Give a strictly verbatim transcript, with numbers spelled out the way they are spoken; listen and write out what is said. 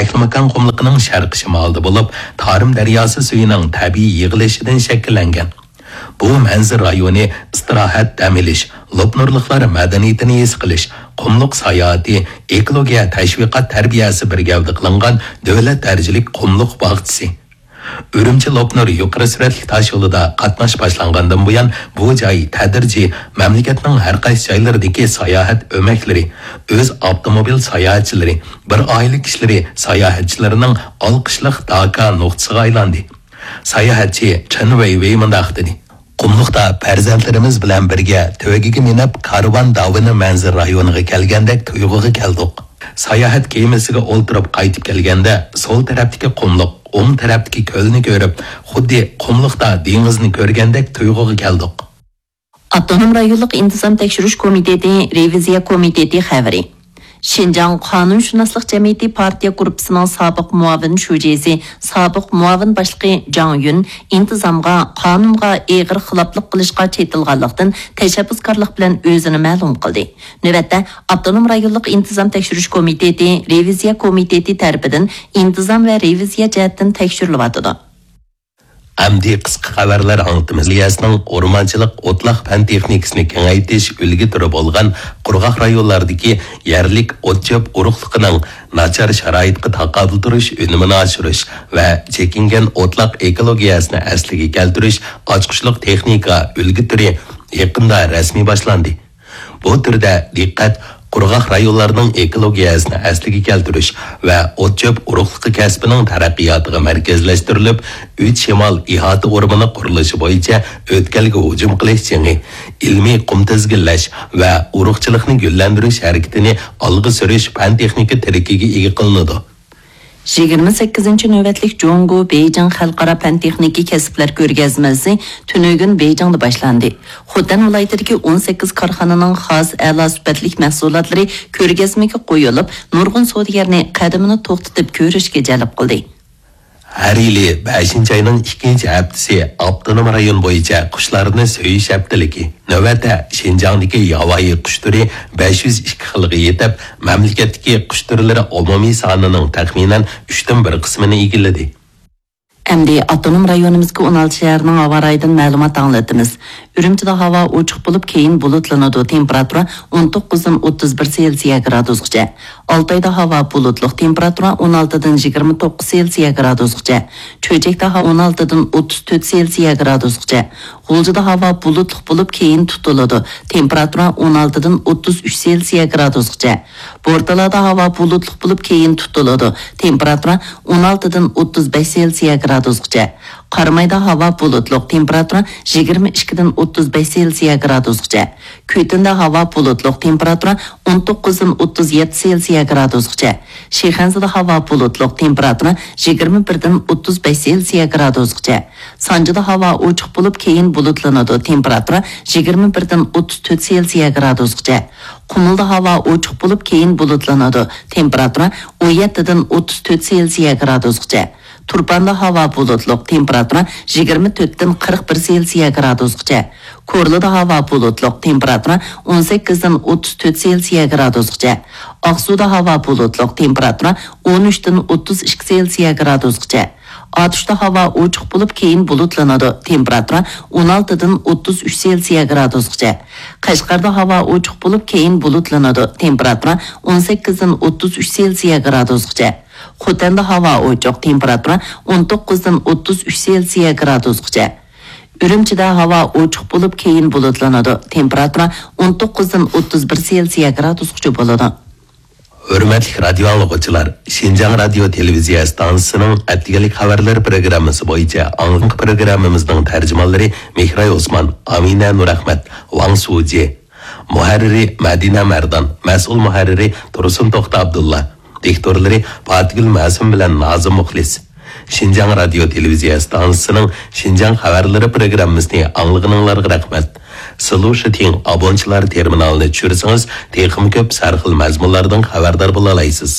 تاشلىماكان قۇملۇقىنىڭ شەرقىي شىمالىدا بولۇپ، تارىم دەرياسى سۈيىنىڭ تەبىئىي يىغىلىشىدىن شەكىللەنگەن. بۇ مەنزىرە رايونى ئىستىراھەت، دەم ئېلىش، لوپنۇرلۇقلار مەدەنىيىتىنى ھېس قىلىش، قۇملۇق ساياھىتى، ئېكولوگىيە تەشۋىقات تەربىيەسى بىر گەۋدە قىلىنغان دۆلەت دەرىجىلىك قۇملۇق باغچىسى. ئۈرۈمچى لوپنۇر يۇقىرى سۈرئەتلىك تاش يولىدا قاتناش باشلانغاندىن بۇيان، بۇ جاي تەدرىجىي مەملىكەتنىڭ ھەر قايسى جايلىرىدىكى ساياھەت ئۆمەكلىرى، ئۆز ئاپتوموبىل ساياھەتچىلىرى، بىر ئائىلە كىشىلىرى ساياھەتچىلىرىنىڭ ئالقىشلىق داكا نۇقتىسىغا ئايلاندى. ساياھەتچى چېن ۋېيۋېي مۇنداق دېدى: «قۇملۇقتا پەرزەنتلىرىمىز بىلەن بىرگە تۆگىگە مىنىپ، كارۋان داۋىنى مەنزىرە رايونىغا كەلگەندەك تۇيغۇغا كەلدۇق. ساياھەت كېمىسىگە ئولتۇرۇپ قايتىپ كەلگەندە، سول تەرەپتىكى قۇملۇق، ئوڭ تەرەپتىكى كۆلنى كۆرۈپ، خۇددى قۇملۇقتا دېڭىزنى كۆرگەندەك تۇيغۇغا كەلدۇق.» ئاپتونوم رايونلۇق ئىنتىزام تەكشۈرۈش كومىتېتى رېۋىزىيە كومىتېتى خەۋىرى. شىنجاڭ قانۇنشۇناسلىق جەمئىيىتى پارتىيە گۇرۇپپىسىنىڭ سابىق مۇئاۋىن شۇجىسى، سابىق مۇئاۋىن باشلىقى جاڭ يۈن ئىنتىزامغا، قانۇنغا ئېغىر خىلاپلىق قىلىشقا چېتىلغانلىقتىن، تەشەببۇسكارلىق بىلەن ئۆزىنى مەلۇم قىلدى. نۆۋەتتە ئاپتونوم رايونلۇق ئىنتىزام تەكشۈرۈش كومىتېتى رېۋىزىيە كومىتېتى تەرىپىدىن ئىنتىزام ۋە رېۋىزىيە جەھەتتىن تەكشۈرۈلۈۋاتىدۇ. ئەمدى قىسقا خەۋەرلەر ئاڭلىتىمىز. مەدەنىيەتنىڭ ئورمانچىلىق ئوتلاق پەن تېخنىكىسىنى كېڭەيتىش ئۈلگە تۈرى بولغان قۇرغاق رايونلاردىكى يەرلىك ئوت-چۆپ ئۇرۇقلۇقىنىڭ ناچار شارائىتقا تاقابىل تۇرۇش ئۈنۈمىنى ئاشۇرۇش ۋە چېكىنگەن ئوتلاق ئېكولوگىيەسىنى ئەسلىگە كەلتۈرۈش ئاچقۇچلۇق تېخنىكا ئۈلگە تۈرى يېقىندا رەسمىي باشلاندى. بۇ تۈردە دىققەت قۇرغاق رايونلارنىڭ ئېكولوگىيەسىنى ئەسلىگە كەلتۈرۈش ۋە ئوت-چۆپ ئۇرۇقلۇقى كەسپىنىڭ تەرەققىياتىغا مەركەزلەشتۈرۈلۈپ، ئۈچ شىمال ئىھاتە ئورمىنى قۇرۇلۇشى بويىچە ئۆتكەلگە ھۇجۇم قىلىش جېڭى، ئىلمىي قۇم تىزگىنلەش ۋە ئۇرۇقچىلىقنى گۈللەندۈرۈش ھەرىكىتىنى ئالغا سۈرۈش پەن-تېخنىكا تىرىكىگە ئىگە قىلىنىدۇ. يىگىرمە سەككىزىنچى نۆۋەتلىك جۇڭگو بېيجىڭ خەلقئارا پەن-تېخنىكا كەسىپلەر كۆرگەزمىسى تۈنۈگۈن بېيجىڭدا باشلاندى. خوتەن ۋىلايىتىدىكى ئون سەككىز كارخانىنىڭ خاس ئەلا سۈپەتلىك مەھسۇلاتلىرى كۆرگەزمىگە قويۇلۇپ، نۇرغۇن سودىگەرنى قەدىمىنى توختىتىپ كۆرۈشكە جەلپ قىلدى. ھەر يىلى بەشىنچى ئاينىڭ ئىككىنچى ھەپتىسى ئاپتونوم رايون بويىچە قۇشلارنى سۆيۈش ھەپتىلىكى. نۆۋەتتە شىنجاڭدىكى ياۋايى قۇش تۈرى بەش يۈز ئىككى خىلغا يېتىپ، مەملىكەتتىكى قۇش تۈرلىرى ئومۇمىي سانىنىڭ تەخمىنەن ئۈچتىن بىر قىسمىنى ئىگىلىدى. ئەمدى ئاپتونوم رايونىمىزدىكى ئون ئالتە شەھەرنىڭ ھاۋا رايىدىن مەلۇمات ئاڭلىتىمىز. ئۈرۈمچىدە ھاۋا ئوچۇق بولۇپ، كېيىن بۇلۇتلىنىدۇ، تېمپېراتۇرا ئون توققۇزدىن ئوتتۇز بىر سېلسىيە گرادۇسقىچە. ئالتايدا ھاۋا بۇلۇتلۇق، تېمپېراتۇرا ئون ئالتىدىن يىگىرمە توققۇز سېلسىيە گرادۇسقىچە. چۆچەكتە ھاۋا ئون ئالتىدىن ئوتتۇز تۆت سېلسىيە گرادۇسقىچە. غۇلجىدا ھاۋا بۇلۇتلۇق بولۇپ، كېيىن تۇتۇلىدۇ، تېمپېراتۇرا ئون ئالتىدىن ئوتتۇز ئۈچ سېلسىيە گرادۇسقىچە. بورتالادا ھاۋا بۇلۇتلۇق بولۇپ، كېيىن تۇتۇلىدۇ، تېمپېراتۇرا ئون ئالتىدىن ئوتتۇز بەش سېلسىيە گرادۇسقىچە. قارامايدا ھاۋا بۇلۇتلۇق، تېمپېراتۇرا يىگىرمە ئىككىدىن ئوتتۇز بەش سېلسىيە گرادۇسقىچە. كۈتۈندە ھاۋا بۇلۇتلۇق، تېمپېراتۇرا ئون توققۇزدىن ئوتتۇز يەتتە سېلسىيە گرادۇسقىچە. شىخەنزىدە ھاۋا بۇلۇتلۇق، تېمپېراتۇرا يىگىرمە بىردىن ئوتتۇز بەش سېلسىيە گرادۇسقىچە. سانجىدا ھاۋا ئوچۇق بولۇپ، كېيىن بۇلۇتلىنىدۇ، تېمپېراتۇرا يىگىرمە بىردىن ئوتتۇز تۆت سېلسىيە گرادۇسقىچە. قۇمۇلدا ھاۋا ئوچۇق بولۇپ، كېيىن بۇلۇتلىنىدۇ، تېمپېراتۇرا ئون يەتتىدىن ئوتتۇز تۆت سېلسىيە گرادۇسقىچە. تۇرپاندا ھاۋا بۇلۇتلۇق، تېمپېراتۇرا يىگىرمە تۆتتىن قىرىق بىر سېلسىيە گرادۇسقىچە. كورلىدا ھاۋا بۇلۇتلۇق، تېمپېراتۇرا ئون سەككىزدىن ئوتتۇز تۆت سېلسىيە گرادۇسقىچە. ئاقسۇدا ھاۋا بۇلۇتلۇق، تېمپېراتۇرا ئون ئۈچتىن ئوتتۇز ئىككى سېلسىيە گرادۇسقىچە. ئاتۇشتا ھاۋا ئوچۇق بولۇپ، كېيىن بۇلۇتلىنىدۇ، تېمپېراتۇرا ئون ئالتىدىن ئوتتۇز ئۈچ سېلسىيە گرادۇسقىچە. قەشقەردە ھاۋا ئوچۇق بولۇپ، كېيىن بۇلۇتلىنىدۇ، تېمپېراتۇرا ئون سەككىزدىن ئوتتۇز ئۈچ سېلسىيە گرادۇسقىچە. خوتەندە ھاۋا ئوچۇق، تېمپېراتۇرا ئون توققۇزدىن ئوتتۇز ئۈچ سېلسىيە گرادۇسقىچە. ئۈرۈمچىدە ھاۋا ئوچۇق بولۇپ، كېيىن بۇلۇتلىنىدۇ، تېمپېراتۇرا ئون توققۇزدىن ئوتتۇز بىر سېلسىيە گرادۇسقىچە بولىدۇ. ھۆرمەتلىك رادىيو ئاڭلىغۇچىلار، شىنجاڭ رادىيو تېلېۋىزىيە ئىستانسىسىنىڭ ئەتىگەنلىك خەۋەرلىرى پروگراممىسى بويىچە ئاڭلىنغان پروگراممىمىزنىڭ تەرجىمانلىرى مېھراي ئوسمان، ئامىنە نۇرئەخمەت، ۋاڭ سۇجى. مۇھەررىرى مەدىنە مەردان، مەسئۇل مۇھەررىرى تۇرسۇن توختى ئابدۇللا، دىكتورلىرى پاتىگۈل مەسۇم بىلەن نازىم مۇخلىس. شىنجاڭ رادىيو تېلېۋىزىيە ئىستانسىسىنىڭ شىنجاڭ خەۋەرلىرى پروگراممىسىنى ئاڭلىغىنىڭلارغا رەھمەت. سىلۇشىتىڭ ئابونچىلار تېرمىنالىنى چۈشۈرسىڭىز، تېخىمۇ كۆپ سەرخىل مەزمۇنلاردىن خەۋەردار بولالايسىز.